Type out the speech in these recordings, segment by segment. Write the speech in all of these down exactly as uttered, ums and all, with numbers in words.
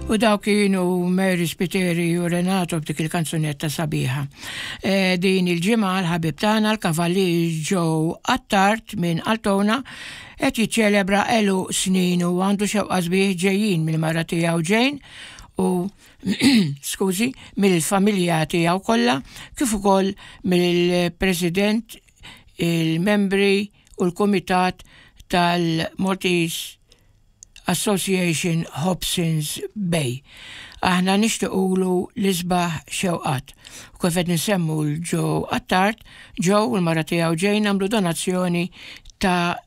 U dawk kienu Mary Spiteri u Renato b'dik il-kanzunetta sabiħa. E, din il-ġimgħa l-ħabib tagħna l-Kavallier Joe Attard minn Altona qed jiċċelebra għeluq sninu u għandu xewqa sbieħ ġejjin mill-mara tiegħu Jane u skużi, mill-familja tiegħu kollha, kif ukoll mill-President, il-membri u l-Kumitat tal-Maltese Association Hobsons Bay. Aħna nixtiqulu l-isbaħ xewqat. U kif qed nsemmu lil Joe Attard, Joe u l-mara tiegħu Jane għamlu donazzjoni ta'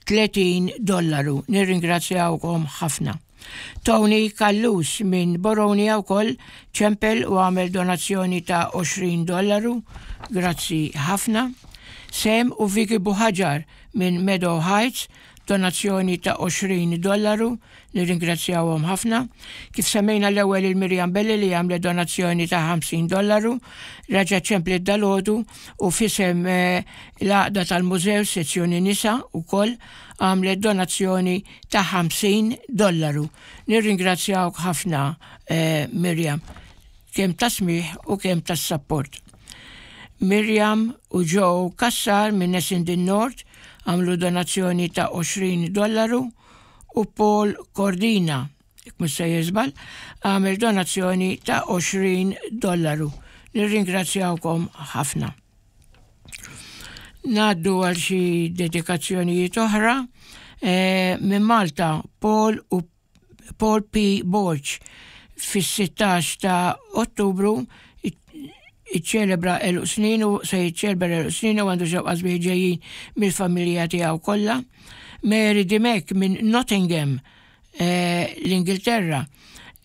tletin dollaru. Nirringrazzjawkom ħafna. Tony Callus minn Boronia wkoll ċempel u għamel donazzjoni ta' għoxrin dollaru. Grazzi ħafna. Sam u Vicky Buhaġar minn Meadow Heights, donazzjoni ta' għoxrin dollaru, nirringrazzjawhom ħafna. Kif semmejna l-ewwel il-Mirjam Belli li għamlet donazzjoni ta' ħamsin dollaru, reġgħet ċemplet dalgħodu u f'isem eh, l-għaqda tal-mużew sezzjoni nisa ukoll għamlet donazzjoni ta' ħamsin dollaru. Nirringrazzjawk ħafna, eh, Mirjam, kemm ta' smigħ u kemm ta' support. Mirjam u Joe Kassar minn Essendon North għamlu donazzjoni ta' għoxrin dollaru u Paul Cordina, mhux se jiżbal, għamel donazzjoni ta' għoxrin dollaru. Nirringrazzjawkom ħafna. Ngħaddu għal xi dedikazzjonijiet oħra. E, minn Malta, Paul u Paul P. Borg fis-sittax ta' Ottubru iċċelebra għeluq sninu, se jiċċelebra għeluq sninu, għandu xewqa sbieħ ġejjin mill-familja tiegħu kollha. Mary Dimek minn Nottingham, eh, l-Ingilterra,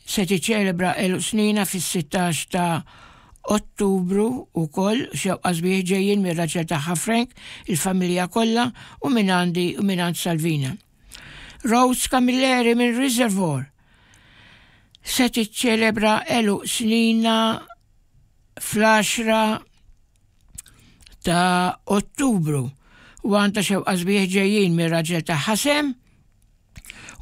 se tiċċelebra għeluq snina fis-sittax ta' Ottubru ukoll, xewqa sbieħ ġejjin mir-raġel tagħha Frank, il-familja kollha u minn għandi u minn għand Salvina. Rose Camilleri minn Reservoir se tiċċelebra għeluq snina fl-għaxra ta' Ottubru u għandha xewqa sbieħ ġejjin mir-raġel ta' Ħasem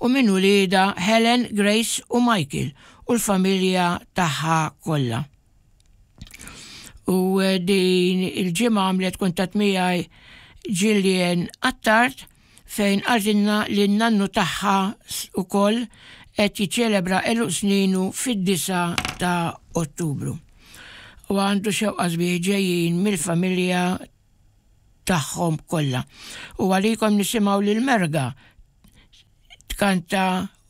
u minn uliedha Helen, Grace u Michael u l-familja tagħha kollha. U eh, din il-ġimgħa għamlet kuntatt miegħi Gillian Attard fejn qaltilna li n-nannu tagħha ukoll qed jiċċelebra għeluq sninu fid-disgħa ta' Ottubru. U għandu xewqa sbieħ ġejjin mill-familja tagħhom kollha. U għalikom nisimgħu lil Merga tkanta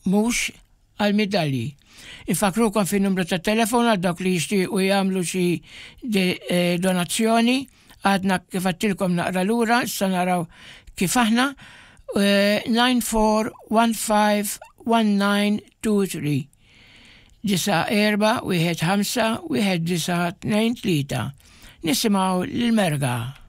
"Mhux għal-Midalji". Infakrukom fin-numru ta' telefon għal dawk li jixtiequ jagħmlu xi eh, donazzjoni. Għadna kif għedtilkom naqra lura, issa naraw kif aħna. nine four one five one nine two three, disgħa erba' wieħed ħamsa wieħed disgħa tnejn tlieta. Nisimgħu l-Merga.